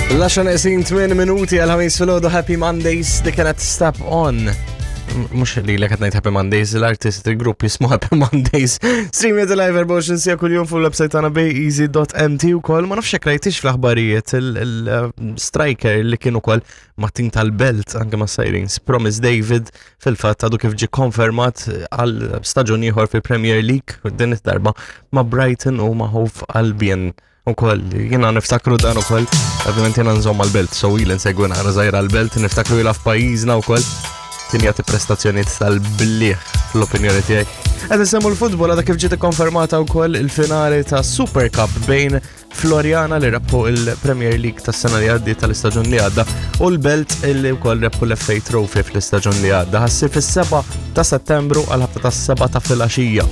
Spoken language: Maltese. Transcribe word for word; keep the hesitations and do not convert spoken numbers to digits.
L-għaxra neqsin tmien minuti għal-ħamis filgħodu. Happy Mondays, di kienet Step On. M- Mhux li l ngħid Happy Mondays, l-artist, il-grupp jismu Happy Mondays. Stream it live erbgħa u għoxrin siegħa kuljum fuq l-website tagħna bayeasy dot M T ukoll. Ma nafx jekk rajtix fl-aħbarijiet il-striker li kien ukoll ma' tim tal-Belt, anke ma' Sirens, Promise David, fil-fatt għadu kif ġi konfermat għal staġun ieħor fil-Premier League, din id-darba ma' Brighton u ma' Hove Albion ukoll. Jiena niftakru dan ukoll, ovvjament jiena nżomm għal-Belt, so ili nsegwi naqra żgħira għal-Belt, niftakru jilgħab f'pajjiżna ukoll, kien jagħti prestazzjonijiet tal-bliħ fl-opinjoni tiegħi. Qed insemmu l-futbol, għadha kif ġiet ikkonfermata wkoll il-finali ta' Super Cup bejn Floriana, li rebħu il-Premier League tas-sena li għaddiet, tal-istaġun li għadda, u l-Belt, li wkoll rebħu l-F A Trophy fl-istaġun li għadda. Ħa ssir fis-sebgħa ta' Settembru għal ħabta tas-sebgħa ta' filgħaxija.